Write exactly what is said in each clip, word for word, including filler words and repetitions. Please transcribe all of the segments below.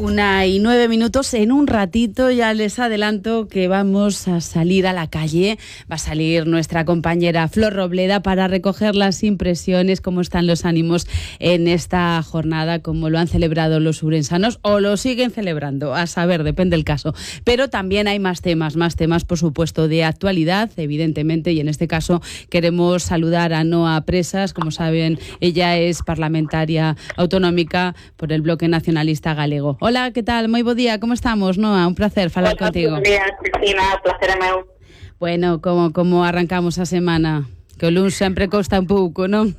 Una y nueve minutos. En un ratito ya les adelanto que vamos a salir a la calle. Va a salir nuestra compañera Flor Robleda para recoger las impresiones, cómo están los ánimos en esta jornada, cómo lo han celebrado los ourensanos o lo siguen celebrando, a saber, depende del caso. Pero también hay más temas, más temas por supuesto de actualidad, evidentemente, y en este caso queremos saludar a Noa Presas. Como saben, ella es parlamentaria autonómica por el Bloque Nacionalista Galego. Hola, ¿qué tal? Moi bo día, como estamos, Noa? Un placer falar Hola, contigo. Buen día, Cristina, placer é meu. Bueno, como, como arrancamos a semana? Que o luns sempre costa un pouco, non?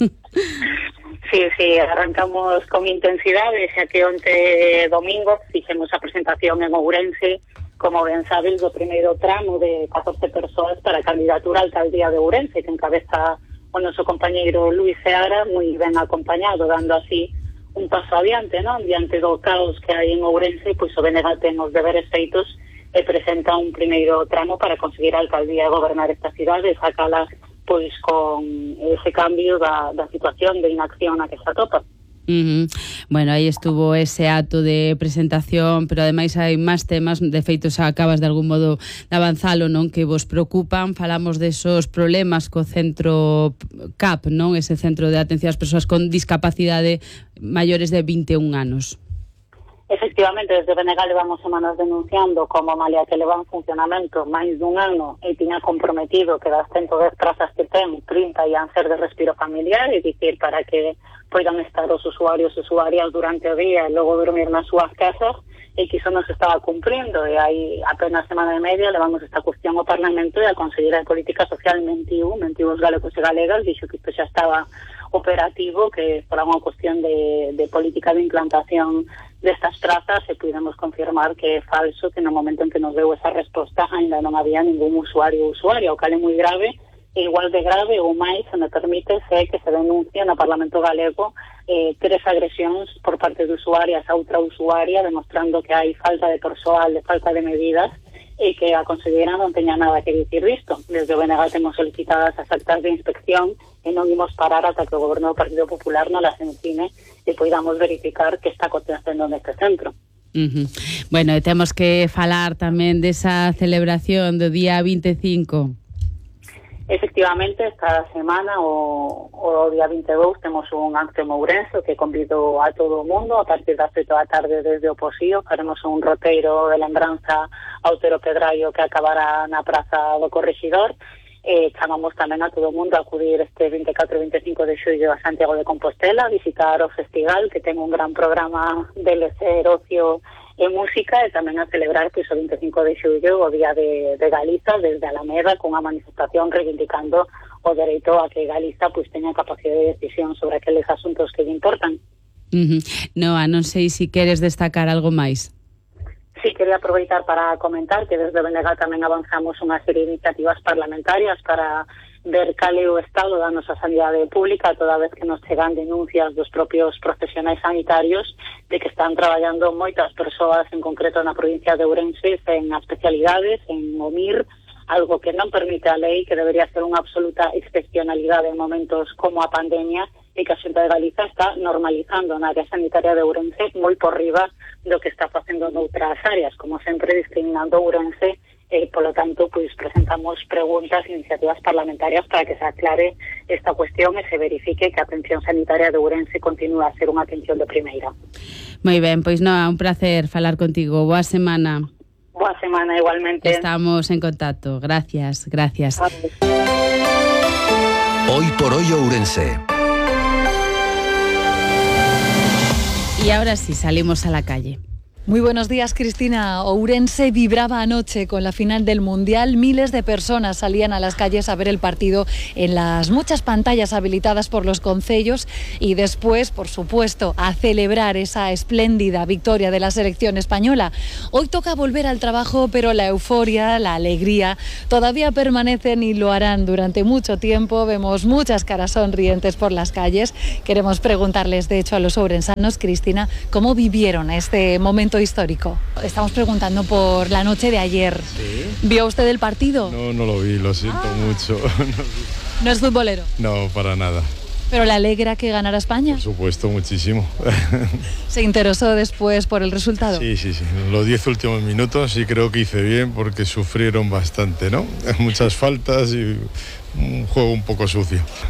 Sí, sí, arrancamos con intensidade, xa que onte domingo fixemos a presentación en Ourense, como ben sabes, do primeiro tramo de catorce persoas para a candidatura a alcaldía de Ourense, que encabeza o noso compañeiro Luis Seara, moi ben acompañado, dando así un paso adiante, non? Diante do caos que hai en Ourense, pois o B N G ten os deberes feitos e presenta un primeiro tramo para conseguir a alcaldía e gobernar esta cidade e sacala pois con ese cambio da, da situación de inacción na que se atopa. Uh-huh. Bueno, aí estuvo ese acto de presentación, pero ademais hai máis temas, de feito xa acabas de algún modo de avanzalo, non, que vos preocupan. Falamos desos problemas co centro C A P, non, ese centro de atención ás persoas con discapacidade maiores de vinte e un anos. Efectivamente, desde B N G levamos semanas denunciando como malia que leva en funcionamento máis dun ano e tiña comprometido que das ciento dez plazas que ten, trinta ian ser de respiro familiar, e dicir para que poidan estar os usuarios e usuarias durante o día e logo dormir nas súas casas, e que iso non se estaba cumprindo, e hai apenas semana e media levamos esta cuestión ao Parlamento e a Conselleira de Política Social mentiu, mentiu os galegos e galegas, dixo que isto xa estaba operativo, que fora unha cuestión de, de política de implantación destas prazas, e pudemos confirmar que é falso, que no momento en que nos deu esa resposta ainda non había ningún usuario ou usuaria, o cal é moi grave, e igual de grave ou máis, se me permite, é que se denuncia no Parlamento Galego eh, tres agresións por parte de usuarias a outra usuaria, demostrando que hai falta de persoal, de falta de medidas, e que a conselleira non teña nada que dicir disto. Desde o B N G temos solicitadas as actas de inspección e non imos parar ata que o goberno do Partido Popular non las encine e poidamos verificar que está acontecendo neste centro. Uh-huh. Bueno, e temos que falar tamén desa celebración do día vinte e cinco. Efectivamente, esta semana, o, o día vinte e dous, temos un acto en Ourense que convido a todo o mundo. A partir das oito da tarde desde o Posío faremos un roteiro de lembranza ao Otero Pedraio que acabará na Praza do Correxidor. E chamamos tamén a todo o mundo a acudir este vinte e catro e vinte e cinco de xullo a Santiago de Compostela, a visitar o festival, que ten un gran programa de lecer, ocio e música, e tamén a celebrar pois, o vinte e cinco de xullo o Día de, de Galiza desde Alameda, con a manifestación reivindicando o dereito a que Galiza pois, teña capacidade de decisión sobre aqueles asuntos que lle importan. Uh-huh. Noa, non sei se queres destacar algo máis. Sí, quería aproveitar para comentar que desde B N G tamén avanzamos unha serie de iniciativas parlamentarias para ver cal é o estado da nosa sanidade pública, toda vez que nos chegan denuncias dos propios profesionais sanitarios de que están traballando moitas persoas, en concreto na provincia de Ourense, en especialidades, en O M I R, algo que non permite a lei, que debería ser unha absoluta excepcionalidade en momentos como a pandemia, e que a Xunta de Galiza está normalizando na área sanitaria de Ourense moi por riba do que está facendo noutras áreas, como sempre discriminando Ourense. E, polo tanto, pois presentamos preguntas e iniciativas parlamentarias para que se aclare esta cuestión e se verifique que a atención sanitaria de Ourense continúa a ser unha atención de primeira. Moi ben, pois Noa, un placer falar contigo. Boa semana. Boa semana, igualmente. Estamos en contacto. Gracias, gracias. Hoy por hoy Ourense. Y ahora sí, salimos a la calle. Muy buenos días, Cristina. Ourense vibraba anoche con la final del Mundial. Miles de personas salían a las calles a ver el partido en las muchas pantallas habilitadas por los concellos y después, por supuesto, a celebrar esa espléndida victoria de la selección española. Hoy toca volver al trabajo, pero la euforia, la alegría todavía permanecen y lo harán durante mucho tiempo. Vemos muchas caras sonrientes por las calles. Queremos preguntarles, de hecho, a los ourensanos, Cristina, ¿cómo vivieron este momento histórico? Estamos preguntando por la noche de ayer. ¿Sí? ¿Vio usted el partido? No, no lo vi, lo siento ah. mucho. ¿No es futbolero? No, para nada. ¿Pero le alegra que ganara España? Por supuesto, muchísimo. ¿Se interesó después por el resultado? Sí, sí, sí. Los diez últimos minutos sí creo que hice bien porque sufrieron bastante, ¿no? Muchas faltas y un juego un poco sucio.